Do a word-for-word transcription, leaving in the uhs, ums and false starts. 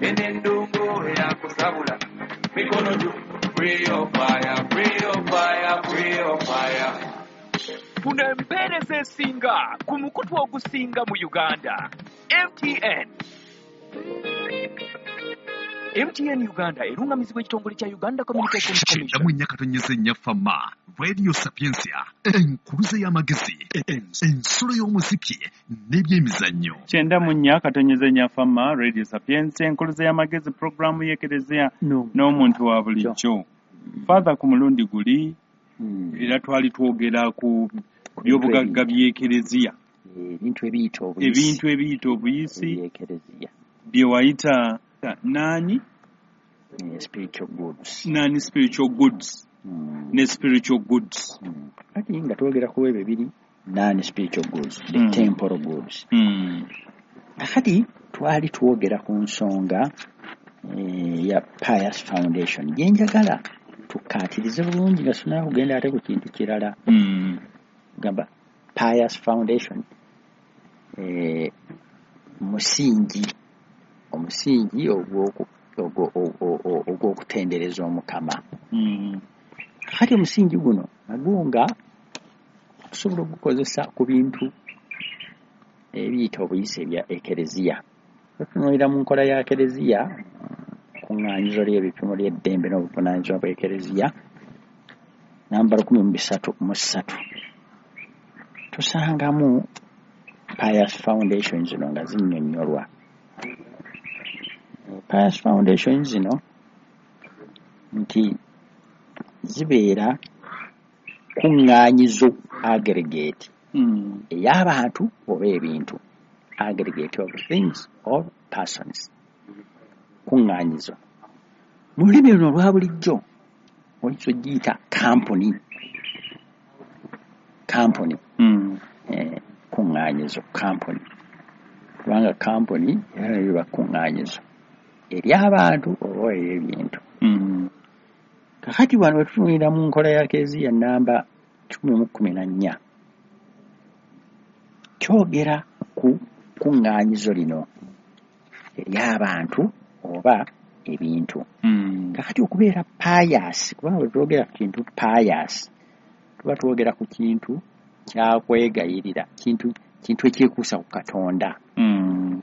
Eno endongo eyakusabula mikono gyo. Free your fire, free your fire, free your fire. Funa empeereza esinga ku mukutu ogusinga mu Uganda, M T N. M T N Uganda erungamizibwa ekitongole kya Uganda Communications Kyenda Commission. Mu nnya katonyeza ennya Fama Radio Sapiensia, enkuluze y'amagezi, ensulo y'omuziki n'ebyemizannyo. Kyenda mu nnya katonyeza ennya Fama Radio Sapiensia, enkuluze y'amagezi, puroguramu y'Ekereziya n'omuntu wa bulijjo. Father, ku mulundi guli Hmm. era twali twogera ku byobugagga by'Ekereziya, ebintu ebiyita obuyisi, ebintu ebiyita obuyisi ebyekereziya, bye wayita nani eh, spiritual goods. Nani spiritual goods Hmm. ne spiritual goods. Hmm. Kati nga twogera ku ebyo ebiri non spiritual goods, the Mm. temporal goods. Mm. Kakati twali twogera ku nsonga eh, ya pious foundation, gye njagala tukkaatirize bulungi nga sinaba kugenda ate ku kintu kirala. Mm. Gamba pious foundation eh, musingi, omusingi ogw'oku- ogwo- ogwo- ogwo- ogw'okutendereza Omukama. Mm. Kakati omusingi guno nagwo nga tusobola okugukozesa ku bintu ebiyita obuyisi ebya ekereziya. Otunuulira mu nkola ya kereziya, kuŋŋaanyizo ly'ebipimo ly'eddembe n'obuvunaanyizibwa bw'ekereziya, namba lukumi mu bisatu mu ssatu, tusangamu pious foundation zino nga zinnyonnyolwa. Pious foundation zino nti zibeera kuŋŋaanyizo, aggregate Mm. ey'abantu oba ebintu, aggregate of things or persons, kuŋŋaanyizo. Mu lulimi luno olwa bulijjo oyinza ogiyita kampuni, kampuni. Mm. eh, kuŋŋaanyizo, kampuni, kubanga kampuni era nayo liba kuŋŋaanyizo ery'abantu oba ery'ebintu. Mm. Kakati wano wetutunulira mu nkola ya kereziya namba kikumi mu kkumi na nnya, kyogera ku kuŋŋaanyizo lino ery'abantu oba ebintu. Mm. Kakati okubeera pious, kubanga bwe twogera ku kintu pious tuba twogera ku kintu kyakwegayirira, kintu kintu ekyekuusa ku Katonda. Mm.